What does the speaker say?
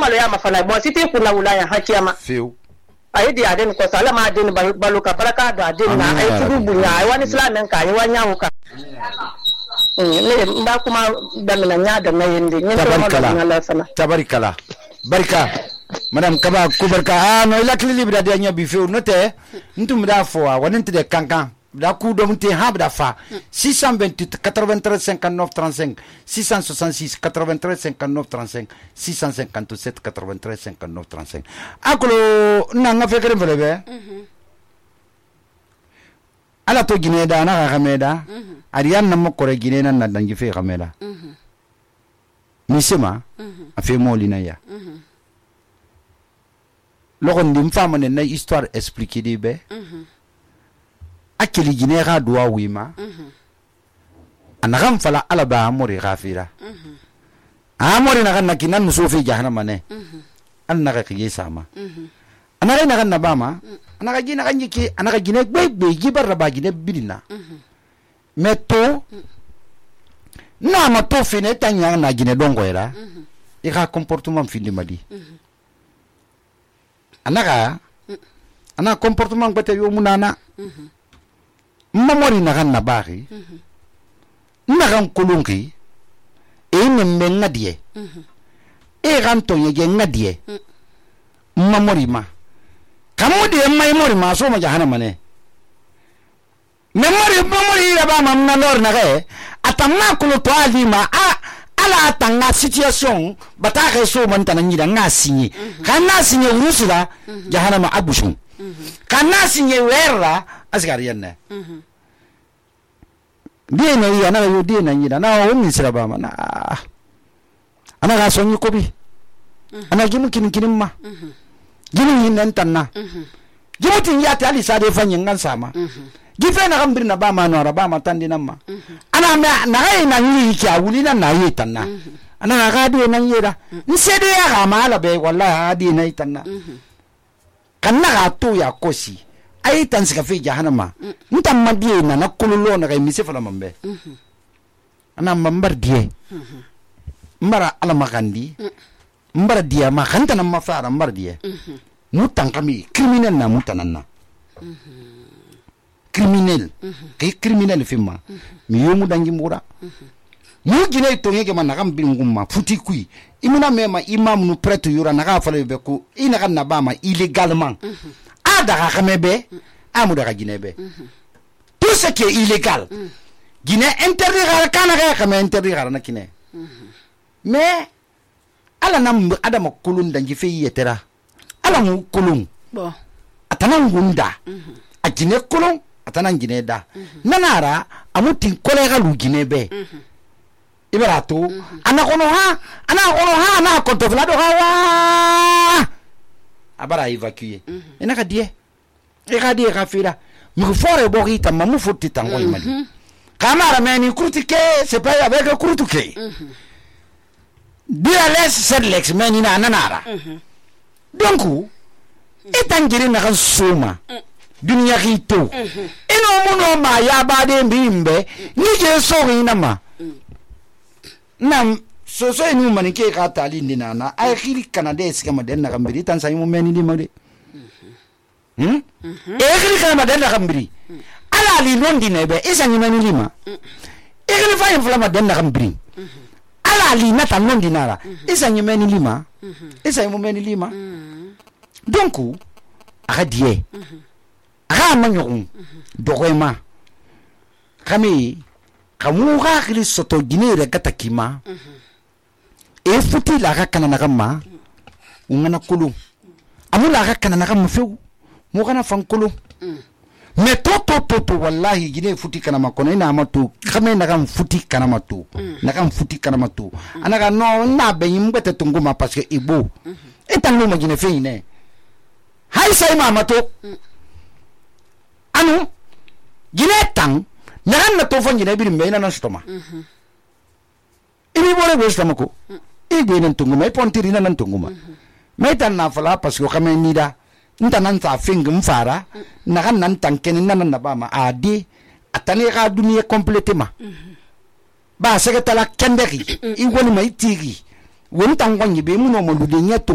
malo ya mafala bo siti kuna wula ya hakiyama feu ayi di aden ko sala ma aden balu ka baraka da aden na ay tudu bunya ay wani islamen ka ay wanya wuka ne mba kuma da mina nya da na yende ne tabarikala barka madam kaba kubarka no ila klili bida de nya bi feu note ntum da fo wani nte kankan da ku do mte ha bida fa 628 93 59 35 666 93 59 35 657 93 59 35 akolo nanga fekere velebe ala to gine da na gameda ariyan nam ko re gine nan dan gife gameda misema afi molina ya logon dim fama ne na histoire expliquer de be akili gine ga duwa wima anagam fala ala ba amori gafira amori na kan nakinan musofi jahannama ne annaga kiye sama anaga na kan nabama anaga gina kan yiki anaga gine gbe gibar raba gine bidina meto na ma to fine tanya na gine dongo era e ga comportement findi madi anaga ana comportement gbete yo munana mamori na kan nabari na kan kulungi e nemme ngadie e kan to yege ngadie mamori ma kamudi mai mori ma so ma jahannama ne mamori ya ba mamna lor na ge atamma kulo to ali ma ala tanga situation bata ke so man tan nyida ngasinyi kana sinye urusula jahannama abushun kana sinye werra asgariyan ne die na ya na yo die na nyida na o min sira ba ma na ana ga sonyi ko bi ana gimu kin ma gimu yin nan tanna gimu tin ya ta ali sa de fanyin ngan sama gife na gambir na ba ma no ba ma tandi nan ma ana na ga na yi ki a wuli nan na yi tanna ana ga de nan yira nse de ya ga ma la be wallahi adi na tanna kan na ga to ya kosi ai tan sika fi jahannama ntam madiye na kululo na ga mi se fala mambe ana mambar die mbara ala magandi mbara dia ma khanta na mafara mbar die mutan kami criminel na mutananna criminel kay criminel fimma mi yomu dangi mura mu gine to ngeke man nakam bingumma futi kui imuna mema imam nu prêtre yura naka fale be ko ina kan na bama illégalement ada ka kamebe amu daga gine be tout ce qui est illégal gine interdit gar kana ga kame interdit gar na kine mais ala nam adama kulun dangi fe yetera ala mu kulun bon atana ngunda a gine kulun atana gine da nanara amutin kolega lu gine be ibarato ana kono ha na konto vlado ha abara évacuer ina ka die e ka die ka fira mi fore bo kita mamu futti tango imali kamara meni kurtike c'est pas avec kurtuke dia les sedlex meni na nanara donc etangiri na kan soma dunya hito ino muno ma ya bade mbimbe ni je so ina ma nam so ni mani ke ka tali ndina ay khiri kanade skama den na gambiri tan sai mu meni di made e khiri kana den na gambiri ala li londi nebe isa ni meni lima e khiri fa inflama den na gambiri ala li nata londi nara isa ni meni lima isa mu meni lima donc aga die aga manyo dogoema kami kamu ga khiri soto ginere katakima e futi la ga kana nakama ungana kulu amula ga kana nakama feu mo kana fankulu me to wallahi gine futi kana makono ina amatu kame nakam futi kana matu nakam futi kana matu anaga no na be yimbete tunguma parce que ibo etan no magine fe ine hay sai mamato anu gine tang nagan na to fangi na birim na stoma ibi bore go stoma ko ibe nan tunguma pontiri nan tunguma metan na fala parce que kame nida nta nan ta fingum fara nagan nan tanken nan na ba ma adi atane ga duniya complètement ba sega tala kendeki i woni mai tigi won tangonyi be muno mo lude nyato